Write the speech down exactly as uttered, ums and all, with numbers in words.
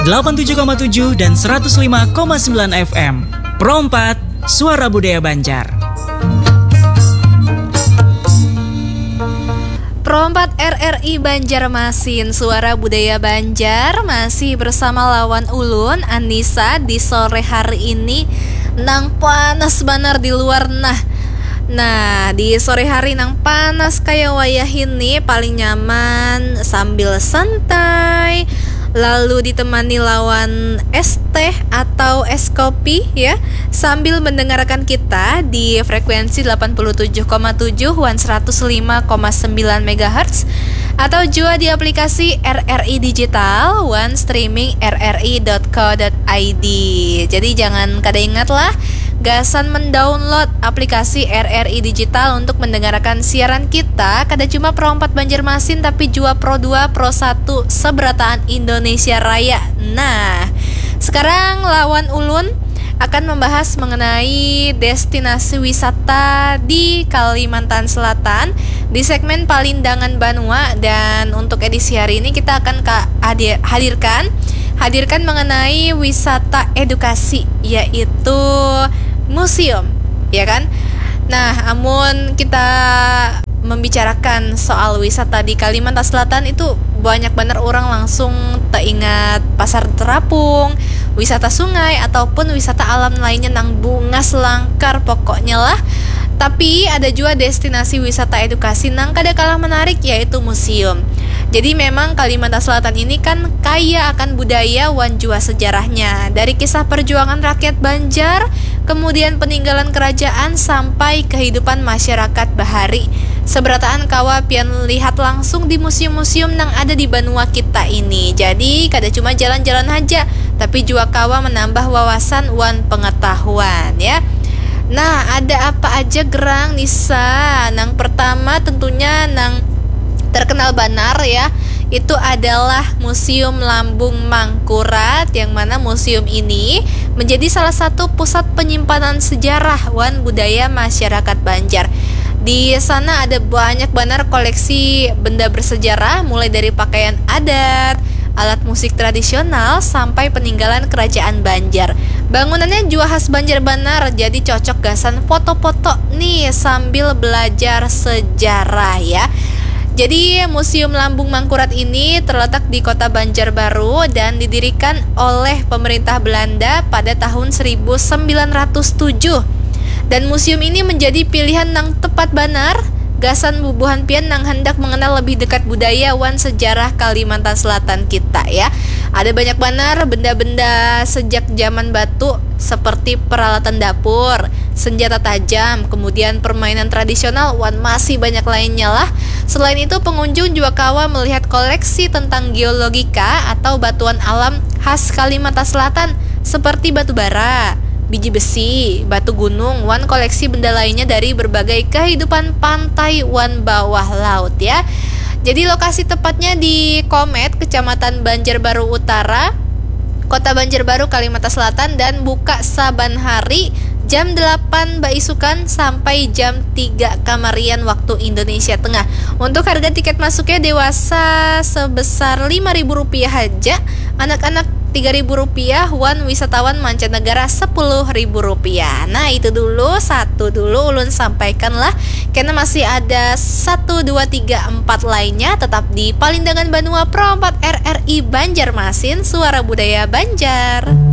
delapan tujuh koma tujuh dan seratus lima koma sembilan F M. Pro empat, Suara Budaya Banjar. Pro empat R R I Banjarmasin, Suara Budaya Banjar, masih bersama lawan ulun, Anissa, di sore hari ini nang panas banar di luar nah. Nah, di sore hari nang panas kaya wayah ini paling nyaman sambil santai, lalu ditemani lawan es teh atau es kopi ya, sambil mendengarkan kita di frekuensi delapan puluh tujuh koma tujuh wan seratus lima koma sembilan megahertz, atau jua di aplikasi R R I Digital wan streaming R R I dot co dot I D. Jadi jangan kada ingat lah, gasan mendownload aplikasi R R I Digital untuk mendengarkan siaran kita, kada cuma Pro empat Banjarmasin, tapi jua Pro dua, Pro satu, seberataan Indonesia Raya. Nah, sekarang lawan ulun akan membahas mengenai destinasi wisata di Kalimantan Selatan di segmen Palindangan Banua, dan untuk edisi hari ini kita akan ka-, hadir-, hadirkan hadirkan mengenai wisata edukasi, yaitu museum, ya kan? Nah, amun kita membicarakan soal wisata di Kalimantan Selatan itu banyak banar orang langsung teingat Pasar Terapung, wisata sungai, ataupun wisata alam lainnya nang bungas langkar pokoknya lah. Tapi ada jua destinasi wisata edukasi nang kada kalah menarik, yaitu museum. Jadi memang Kalimantan Selatan ini kan kaya akan budaya wan jua sejarahnya. Dari kisah perjuangan rakyat Banjar, kemudian peninggalan kerajaan sampai kehidupan masyarakat bahari. Seberataan kawa pian lihat langsung di museum-museum nang ada di banua kita ini. Jadi kada cuma jalan-jalan haja, tapi jua kawa menambah wawasan wan pengetahuan ya. Nah, ada apa aja gerang Nisa? Nang pertama tentunya nang terkenal banar ya, itu adalah Museum Lambung Mangkurat, yang mana museum ini menjadi salah satu pusat penyimpanan sejarah wan budaya masyarakat Banjar. Di sana ada banyak banar koleksi benda bersejarah, mulai dari pakaian adat, alat musik tradisional, sampai peninggalan kerajaan Banjar. Bangunannya jua khas Banjar banar, jadi cocok gasan foto-foto nih sambil belajar sejarah ya. Jadi, Museum Lambung Mangkurat ini terletak di Kota Banjarbaru dan didirikan oleh pemerintah Belanda pada tahun seribu sembilan ratus tujuh. Dan museum ini menjadi pilihan nang tepat banar gasan bubuhan pian nang handak mengenal lebih dekat budaya wan sejarah Kalimantan Selatan kita ya. Ada banyak banar benda-benda sejak zaman batu seperti peralatan dapur, senjata tajam, kemudian permainan tradisional, wan masih banyak lainnya lah. Selain itu, pengunjung juga kawa melihat koleksi tentang geologika atau batuan alam khas Kalimantan Selatan seperti batu bara, biji besi, batu gunung, wan koleksi benda lainnya dari berbagai kehidupan pantai wan bawah laut ya. Jadi lokasi tepatnya di Komet, Kecamatan Banjarbaru Utara, Kota Banjarbaru, Kalimantan Selatan, dan buka saban hari jam delapan baisukan sampai jam tiga kamarian waktu Indonesia Tengah. Untuk harga tiket masuknya dewasa sebesar lima ribu rupiah haja, anak-anak tiga ribu rupiah, wan wisatawan mancanegara sepuluh ribu rupiah. Nah, itu dulu, satu dulu ulun sampaikan lah. Karena masih ada satu, dua, tiga, empat lainnya tetap di Palindangan Banua Pro empat R R I Banjarmasin, Suara Budaya Banjar.